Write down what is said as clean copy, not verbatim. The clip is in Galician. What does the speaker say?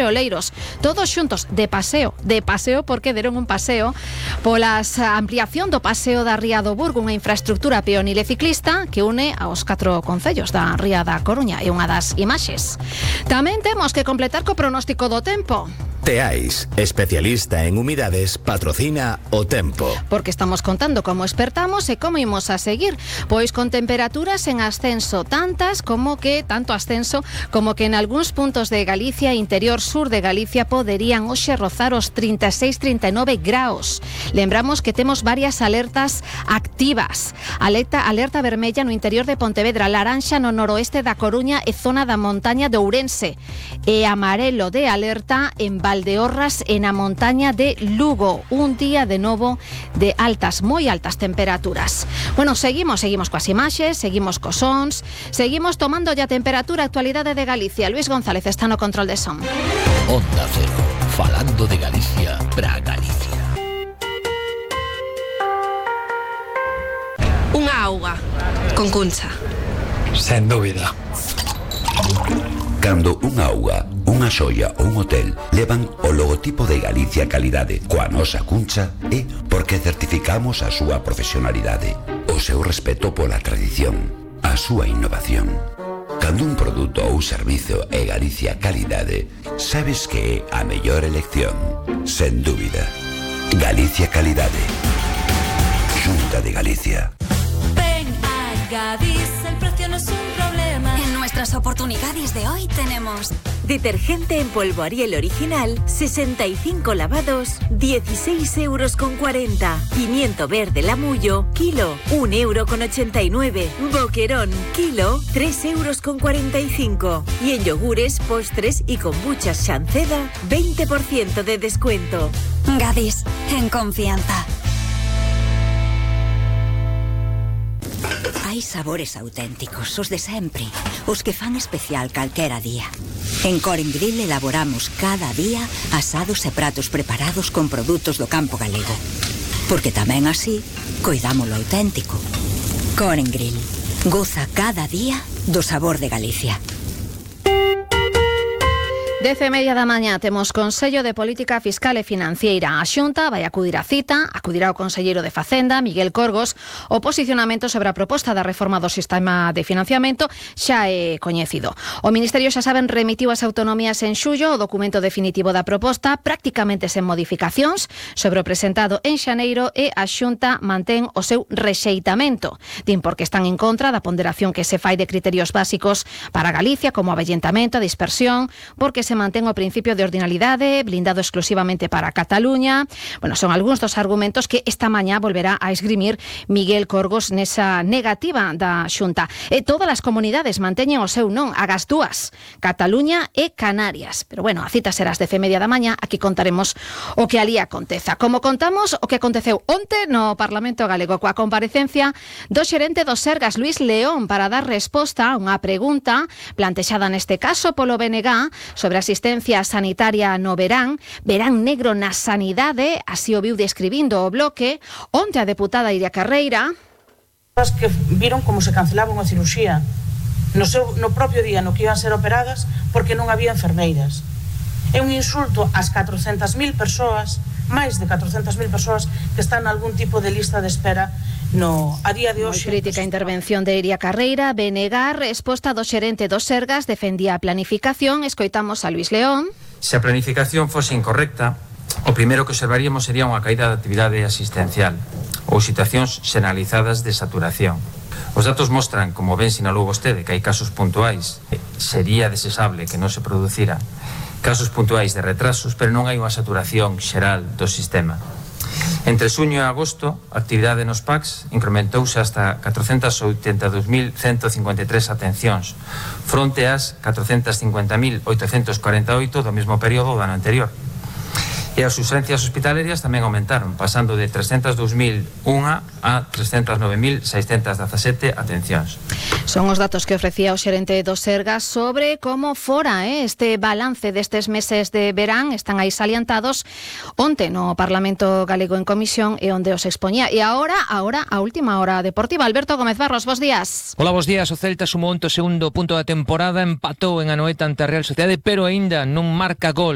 Oleiros, todos xuntos de paseo porque deron un paseo pola ampliación do paseo da Ría do Burgo, unha infraestructura peonil e ciclista que une aos 4 concellos da Ría da Coruña, e unha das imaxes. Tamén temos que completar co pronóstico do tempo. Teais, especialista en humidades, patrocina o tempo. Porque estamos contando como espertamos e como imos a seguir. Pois con temperaturas en ascenso, tanto ascenso como que en algúns puntos de Galicia, interior sur de Galicia, poderían hoxe rozar os 36-39 graus. Lembramos que temos varias alertas activas. Alerta vermella no interior de Pontevedra, laranxa no noroeste da Coruña e zona da montaña de Ourense, e amarelo de alerta en Valdeorras e na montaña de Lugo. Un día de novo de moi altas temperaturas. Bueno, seguimos coas imaxes, seguimos cos sons, seguimos tomando a temperatura. Actualidade de Galicia. Luis González está no control de son. Onda Cero, falando de Galicia para Galicia. Unha auga con Cuncha. Sen dúbida. Cando unha auga, unha xoia ou un hotel levan o logotipo de Galicia Calidade coa nosa Cuncha, é porque certificamos a súa profesionalidade, o seu respeto pola tradición, a súa innovación. Cando un produto ou servizo é Galicia Calidade, sabes que é a mellor elección, sen dúbida. Galicia Calidade. Xunta de Galicia. Ven a Gadis, el precio no es un problema. En nuestras oportunidades de hoy tenemos detergente en polvo Ariel original, 65 lavados, 16,40 €. Pimiento verde Lamullo, kilo, 1,89 €. Boquerón, kilo, 3,45 €. Y en yogures, postres y kombuchas Shanceda, 20% de descuento. Gadis, en confianza. Hai sabores auténticos, os de sempre, os que fan especial calquera día. En Coren Grill elaboramos cada día asados e pratos preparados con produtos do campo galego. Porque tamén así, coidamos lo auténtico. Coren Grill, goza cada día do sabor de Galicia. 10:30 da mañá temos Consello de Política Fiscal e Financiera. A Xunta vai acudir á cita, acudirá o conselleiro de Facenda, Miguel Corgos. O posicionamento sobre a proposta da reforma do sistema de financiamento xa é coñecido. O Ministerio, xa saben, remitiu as autonomías en xullo o documento definitivo da proposta, prácticamente sen modificacións, sobre o presentado en xaneiro, e a Xunta mantén o seu rexeitamento. Din porque están en contra da ponderación que se fai de criterios básicos para Galicia, como a avellentamento, a dispersión, porque se mantén o principio de ordinalidade, blindado exclusivamente para Cataluña. Bueno, son algúns dos argumentos que esta mañá volverá a esgrimir Miguel Corgos nesa negativa da Xunta. E todas as comunidades manteñen o seu non, agás dúas, Cataluña e Canarias. Pero bueno, a cita será ás 10:30 da mañá, aquí contaremos o que alí aconteza. Como contamos o que aconteceu onte no Parlamento Galego coa comparecencia do xerente do Sergas, Luis León, para dar resposta a unha pregunta plantexada neste caso polo BNG sobre asistencia sanitaria no verán negro na sanidade, así o viu describindo o Bloque. Onte a deputada Iria Carreira que viron como se cancelaba unha cirurxía no propio día no que iban ser operadas porque non había enfermeiras. É un insulto ás 400.000 persoas, máis de 400.000 persoas que están en algún tipo de lista de espera a día de hoxe. Moi crítica intervención de Iria Carreira. BNG, resposta do xerente do Sergas, defendía a planificación. Escoitamos a Luis León. Se a planificación fose incorrecta, o primeiro que observaríamos sería unha caída da actividade asistencial ou situacións xeneralizadas de saturación. Os datos mostran, como ben sinalou vostede, que hai casos puntuais. Sería desexable que non se producira casos puntuais de retrasos, pero non hai unha saturación xeral do sistema. Entre xuño e agosto, a actividade nos PACs incrementouse hasta 482.153 atencións, fronte ás 450.848 do mesmo período do ano anterior. E as urxencias hospitalarias tamén aumentaron, pasando de 302.001 a 309.617 atencións. Son os datos que ofrecía o xerente do Sergas sobre como fora este balance destes meses de verán. Están aí salientados onte no Parlamento Galego en comisión e onde os expoñía. E agora a última hora deportiva. Alberto Gómez Barros, bos días. Hola, bos días. O Celta sumou onte o segundo punto da temporada, empatou en Anoeta ante a Real Sociedade, pero aínda non marca gol.